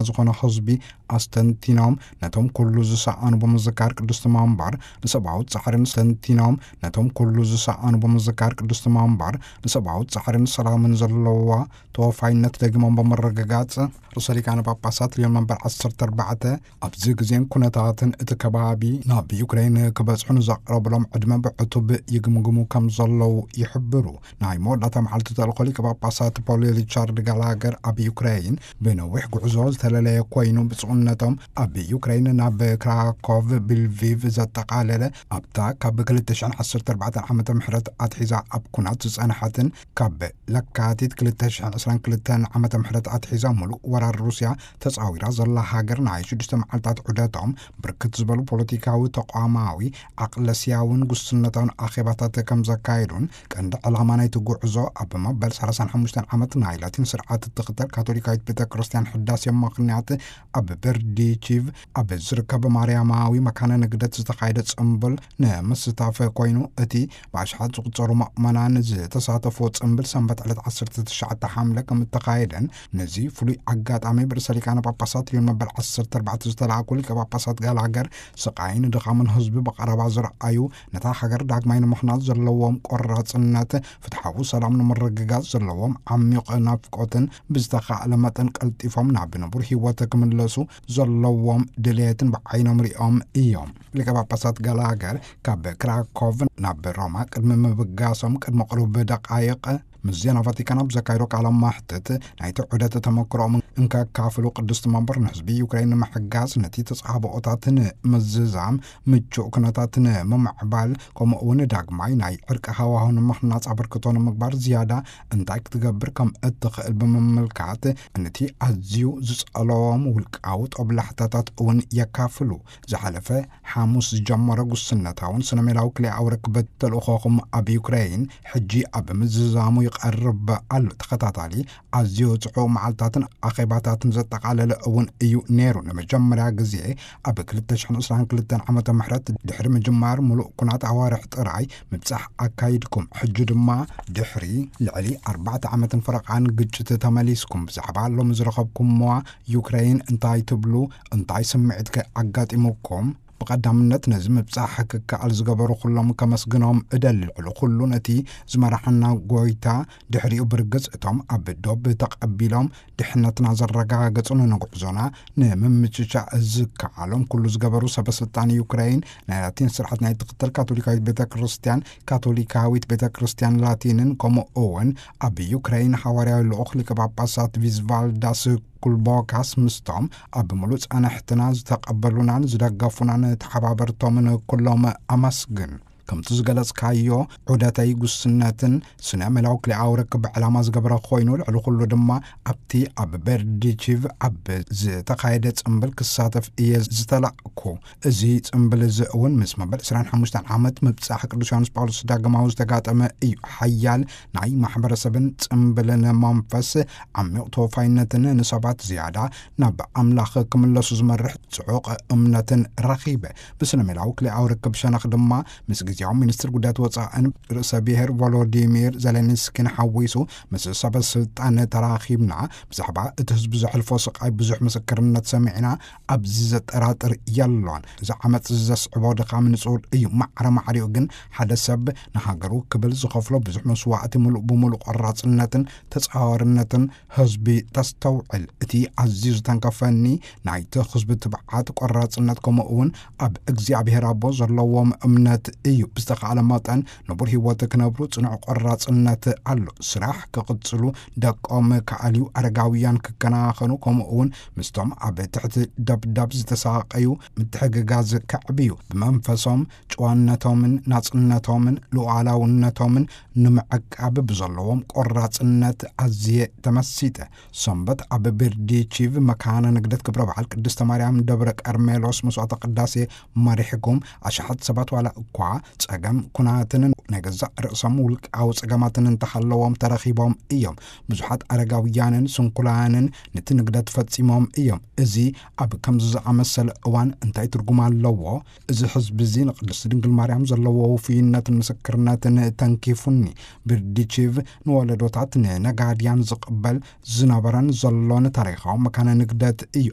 ዝኾነ ህዝቢ ኣስተንቲኖም፣ ነቶም ኩሉ ዝሰኣኑ ብምዝካር ቅድስቲ መንበር ንሰብኣዊ ጻዕርን ኣስተንቲኖም፣ ነቶም ኩሉ ዝሰኣኑ ብምዝካር ቅድስቲ መንበር ንሰብኣዊ ጻዕርን ሰላምን ዘለዋ ተወፋይነት ደጊሞም ብምርግጋጽ፣ ርእሰ ሊቃነ ጳጳሳት ልዮን መንበር ዓሰርተ ኣርባዕተ ኣብዚ ግዜን ኩነታትን እቲ ከባቢ ናብ ዩክሬን ክበጽሑ ንዘቕረብሎም ዕድመ ብዕቱብ ይግምግሙ ከም ዘለዉ ይሕብሩ። ናይ መወዳእታ መዓልቲ ተልእኮ ሊቀ ጳጳሳት ፖል ሪቻርድ ጋላገር ኣብ ዩክሬን ብነዊሕ ጉዕዞ ዝተለለየ ኮይኑ፣ ብፁዕነቶም ኣብ ዩክሬን ናብ ክራኮቭ፣ ብልቪቭ ዘጠቓለለ ኣብታ ካብ ክልተ ሽሕን ዓሰርተ ኣርባዕተን ዓመተ ምሕረት ኣትሒዛ ኣብ ኩናት ዝጸንሐትን ካብ ለካቲት ክልተ ሽሕን ዕስራን ክልተን ዓመተ ምሕረት ኣትሒዛ ምሉእ ወራር ሩስያ ተጻዊራ ዘላ ሃገር ናይ ሽዱሽተ መዓልታት ዑደቶም ብርክት ዝበሉ ፖለቲካዊ፣ ተቋማዊ፣ ዓቕለስያውን ጉስነታውን ኣኼባታት ከም ዘካየዱን ቀንዲ ዕላማ ናይቲ ጉዕዞ ኣብ መበል ሰላሳን ሓሙሽተን ዓመት ናይ ላቲን ስርዓት እትኽተል ካቶሊካዊት ቤተ ክርስቲያን ሕዳሴ ምኽንያት ኣብ በርዲቺቭ ኣብ ዝርከብ ማርያማዊ መካነ ንግደት ዝተኻየደ ጽምብል ንምስታፍ ኮይኑ፣ እቲ ብኣሽሓት ዝቑጸሩ ምእመናን ዝተሳተፍዎ ጽምብል ሰንበት ዕለት ዓሰርተ ትሽዓተ ሓምለ ከም እተኻየደን፣ ነዚ ፍሉይ ኣጋጣሚ ብርእሰ ሊቃነ ጳጳሳት ልዮን መበል ዓሰርተ ኣርባዕተ ዝተላእኩ ሊቀ ጳጳሳት ጋላገር ስቓይን ድኻምን ህዝቢ ብቐረባ ዝረኣዩ፣ ነታ ሃገር ዳግማይ ንምኽናጽ ዘለዎም ቆራጽነት፣ ፍትሓዊ ሰላም ንምርግጋጽ ዘለዎም ዓሚቕ ናፍቆትን ብዝተኻእለ መጠን ቀልጢፎም ናብ ንቡር ህይወት ክምለሱ ዘለዎም ድልየትን ብዓይኖም ሪኦም እዮም። ሊቀ ጳጳሳት ጋላገር ካብ ክራኮቭ ናብ ሮማ ቅድሚ ምብጋሶም ቅድሚ ቅሩብ ደቃይቕ ምስ ዜና ቫቲካን ኣብ ዘካየዶ ቃለ ማሕትት፣ ናይቲ ዑደት ተመክሮኦም እንከካፍሉ፣ ቅድስቲ መንበር ንህዝቢ ዩክሬን ንምሕጋዝ፣ ነቲ ተጻብኦታት ንምዝዛም፣ ምቹእ ኩነታት ንምምዕባል፣ ከምኡ እውን ዳግማይ ናይ ዕርቂ ሃዋሁ ንምኽናጽ ኣበርክቶ ንምግባር ዝያዳ እንታይ ክትገብር ከም እትኽእል ብምምልካት፣ ነቲ ኣዝዩ ዝጸለዎም ውልቃዊ ጦብላሕታታት እውን የካፍሉ። ዝሓለፈ ሓሙስ ዝጀመረ ጉስነታውን ስነ ሜላዊ ክልኤኣዊ ርክበት ተልእኾኹም ኣብ ዩክሬን ሕጂ ኣብ ምዝዛሙ ይቐርብ ኣሎ። ተኸታታሊ ኣዝዩ ጽዑቕ መዓልታትን ኣኼባታትን ዘጠቓለለ እውን እዩ ነይሩ። ንመጀመርያ ግዜ ኣብ ክልተ ሽሕን ዕስራን ክልተን ዓመተ ምሕረት ድሕሪ ምጅማር ምሉእ ኩናት ኣዋርሕ ጥራይ ምብጻሕ ኣካይድኩም። ሕጂ ድማ ድሕሪ ልዕሊ ኣርባዕተ ዓመትን ፈረቓን ግጭት ተመሊስኩም። ብዛዕባ ሎሚ ዝረኸብኩምዋ ዩክሬን እንታይ ትብሉ? እንታይ ስምዒት ከ ኣጋጢሙኩም? ብቐዳምነት ነዚ ምብጻሕ ክከኣል ዝገበሩ ኩሎም ከመስግኖም እደሊ። ልዕሊ ኩሉ ነቲ ዝመርሓና ጎይታ፣ ድሕሪኡ ብርግጽ እቶም ኣብ ዶብ ተቐቢሎም ድሕነትና ዘረጋገጹ፣ ንጉዕዞና ንምምችቻእ ዝከኣሎም ኩሉ ዝገበሩ ሰበ ስልጣን ዩክሬን፣ ናይ ላቲን ስርዓት ናይ ትኽተል ካቶሊካዊት ቤተ ክርስቲያን፣ ካቶሊካዊት ቤተ ክርስቲያን ላቲንን፣ ከምኡ እውን ኣብ ዩክሬን ሓዋርያዊ ልኡኽ ሊቀ ጳጳሳት ቪዝቫልዳስ ኩልቦካስ ምስቶም ኣብ ምሉእ ጻንሕትና ዝተቐበሉናን ዝደገፉናን ተሓባበርቶምን ኩሎም ኣመስግን። ከምቲ ዝገለጽካዮ፣ ዑደተይ ጉስነትን ስነ ሜላዊ ክልኤኣዊ ርክብ ዕላማ ዝገበረ ኮይኑ፣ ልዕሊ ኩሉ ድማ ኣብቲ ኣብ በርዲቺቭ ኣብ ዝተኻየደ ጽምብል ክሳተፍ እየ ዝተላእኩ። እዚ ጽምብል እዚ እውን ምስ መበል ዕስራን ሓሙሽተን ዓመት ምብጻሕ ቅዱስ ዮሃንስ ጳውሎስ ዳግማዊ ዝተጋጠመ እዩ። ሓያል ናይ ማሕበረሰብን ጽምብልን መንፈስ፣ ዓሚቕ ተወፋይነትን ንሰባት ዝያዳ ናብ ኣምላኽ ክምለሱ ዝመርሕ ጽዑቕ እምነትን ረኺበ። ብስነ ሜላዊ ክልኤኣዊ ርክብ ሸነኽ ድማ ምስ ግዜያዊ ሚኒስትር ጉዳያት ወጻእን ርእሰ ብሔር ቮሎዲሚር ዜሌንስኪን ሓዊሱ ምስ ሰበ ስልጣን ተራኺብና። ብዛዕባ እቲ ህዝቢ ዘሕልፎ ስቓይ ብዙሕ ምስክርነት ሰሚዕና። ኣብዚ ዘጠራጥር የሎን። እዚ ዓመጽ እዚ ዘስዕቦ ድኻም ንጹር እዩ። ማዕረ ማዕሪኡ ግን ሓደ ሰብ ንሃገሩ ክብል ዝኸፍሎ ብዙሕ መስዋእቲ፣ ምሉእ ብምሉእ ቆራጽነትን ተጻዋርነትን ህዝቢ ተስተውዕል። እቲ ኣዝዩ ዝተንከፈኒ ናይቲ ህዝቢ ትብዓት፣ ቆራጽነት፣ ከምኡ እውን ኣብ እግዚኣብሔር ኣቦ ዘለዎም እምነት እዩ። ብዝተኻእለ መጠን ንቡር ህይወት ክነብሩ ጽኑዕ ቆራጽነት ኣሎ። ስራሕ ክቕጽሉ፣ ደቆም ክኣልዩ፣ ኣረጋውያን ክከናኸኑ፣ ከምኡ እውን ምስቶም ኣብ ትሕቲ ደብዳብ ዝተሳቐዩ ምትሕግጋዝ ከዕብዩ፣ ብመንፈሶም ጭዋነቶምን ናጽነቶምን ሉዓላውነቶምን ንምዕቃብ ብዘለዎም ቆራጽነት ኣዝየ ተመሲጠ። ሰንበት ኣብ ቤርዲቺቭ መካነ ንግደት ክብረ በዓል ቅድስተ ማርያም ደብረ ቀርሜሎስ መስዋዕተ ቅዳሴ መሪሕኩም፣ ኣሽሓት ሰባት ዋላ እኳ ጸገም ኩናትን ናይ ገዛእ ርእሶም ውልቃዊ ጸገማትን እንተሃለዎም ተረኺቦም እዮም። ብዙሓት ኣረጋውያንን ስንኩላንን ነቲ ንግደት ፈጺሞም እዮም። እዚ ኣብ ከምዚ ዝኣመሰለ እዋን እንታይ ትርጉም ኣለዎ? እዚ ህዝቢ እዚ ንቅድስቲ ድንግል ማርያም ዘለዎ ውፉይነትን ምስክርነትን ተንኪፉኒ። ብርዲቺቭ ንወለዶታት ንነጋድያን ዝቕበል ዝነበረን ዘሎን ታሪኻዊ መካነ ንግደት እዩ።